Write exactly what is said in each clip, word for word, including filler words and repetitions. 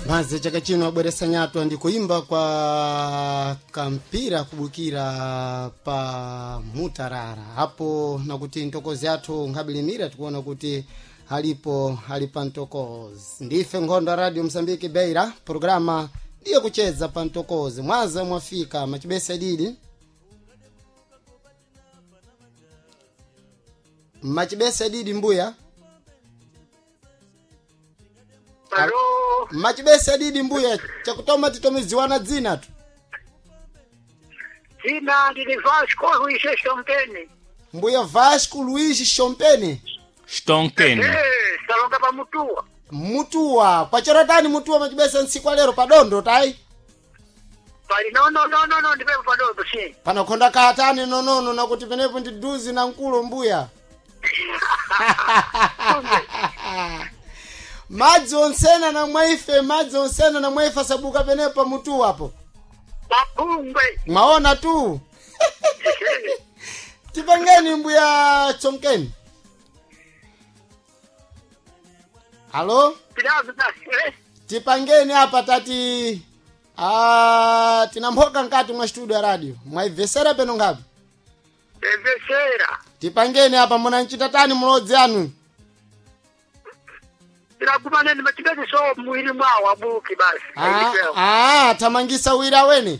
Maze chaka chino abweresa nyatwa ndi kuimba kwa kampira kubukira pa mutarara apo nakuti ntokozi athu nkhabilimira tikuona kuti alipo ali pa ntokozi. Ndife nkhondo ya Radio Msambiki Beira, programa ndiye kucheza pa ntokozi. Mwaza mwafika machibesa didi machibesa didi mbuya. Alo, Machibesa didi mbuya, chakutoma titomiziwana dzina tu. dzina ndili Vasco Luis Shompeni. Mbuya Vasco Luiz Shompeni. Stonkeni. Eh, salonga pa Mutuwa. Mutuwa kwacherotani mutuwa machibesa ntsiku alero padondo tayi. Pali no no no no no ndipepo padondo si. Panakhonda kaatani nonono nakuti penepo ndi duzi na mkulo mbuya. Madzi onsena na mwaife, madzi onsena na mwaife asabuka penepo pamutuwa apo. Papungwe. Mwaona tu. Tipangeni mbuya Chonkeni. Halo? Pilazo basi eh. Tipangeni apa tati ah, tinamphoka nkati mwa studio ya radio mwaibvesera peno ngapi. Evesera. Tipangeni apa munanchita tani mulodzi anu. Tinakumaneni machibesi so mwili mwawo abuki basi. Ah, ah, thamangisa wira wene.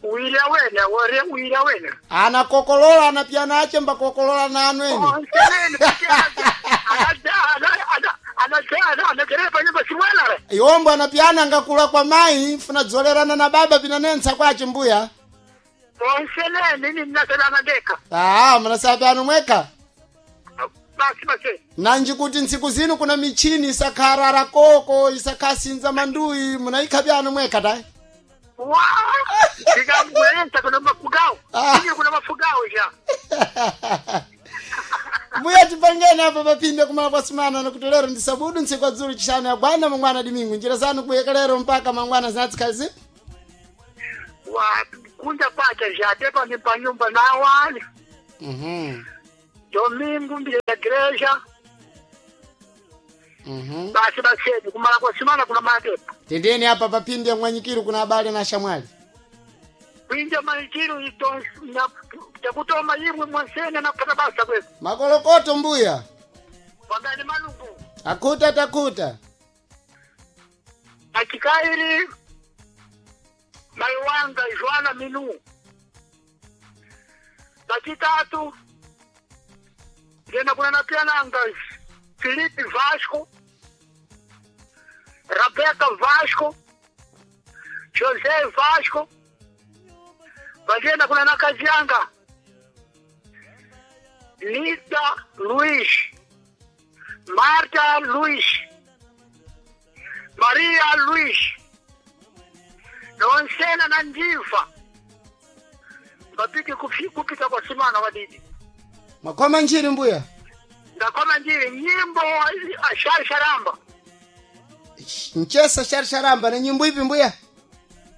Uili awene, wore uili awene. Anakokolola anapiyana ache mbakokolola na anu eni. Onseneni kuti ana ana ana ana ana pa nyumba simwela. Iwombo anapiyana ngakula kwa mai funa dzolerana na baba pinanensa kwache mbuya. Onseneni ni mnasalama ndeka. Ah, munasapiyanu mweka. Basi basi. Nanji kuti ntsiku zino kuna michini isakharara koko isakhasinza manduyi munaikha pyanu mweka tayi. Wa! Ndikamwenza kuna mafugao. Ah. Ije kuna mafugao ja. Mbuya tipangeni apa papinde kumala kwa simana nakuti lero ndi sabudu ntsiku adzulu chishanu yagwana mangwana dimingu njira zanu kuyeka lero mpaka mangwana zinatsikazi. Wa kunja kwacha ja tepa ni pa nyumba na wali. Mhm. Domingo mbile ya igreja. Mhm. Basi basi kumala kwa simana kuna matepa. Tendeni apa papinde mwanyikiru kuna habari na shamwali. Kwinja manjiru ito na takutoma imwe mwansene na kupata basa kwetu. Makolokoto mbuya. Wagani malungu. Akuta takuta. Achikairi Maiwanga Joana Minu. Bachitatu ngena kuna napiananga Felipe Vasco, Rebeca Vasco, José Vasco, vagenda kuna nakazianga Lida Luiz, Marta Luiz, Maria Luiz, nonsena na ndiva vapike kufi- kupita kwa simana wadidi. Mwakoma njiri mbuya. Ndakoma njiri nyimbo asharisharamba. Nchesa sharisharamba ni nyimbo ipi mbuya?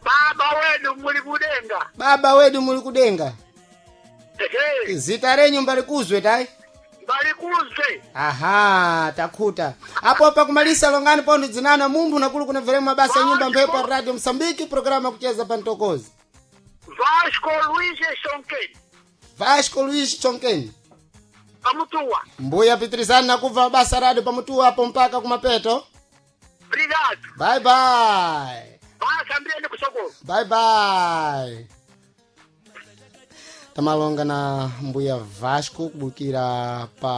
Baba wedu muli kudenga. Baba wedu muli kudenga. Ehe, Zita renyu mbalikuzwe tayi. mbalikuzwe. Aha, takhuta. Apo apa kumalisa longani pondo dzinana munthu nakulu kuna veremu mabasa ya nyumba mphepo Radio Msambiki programa kucheza pa ntokozi. Vasco Luiz Sonkeni Vasco Luiz Chonkeni. pamutuwa. Mbuya pitrizani nakubva mabasa radio pamutuwa apo mpaka kumapeto. Obrigado. Bye bye. Basa mbiyeni kusokolo. Bye bye. Tamalonga na mbuya Vasco kubukira pa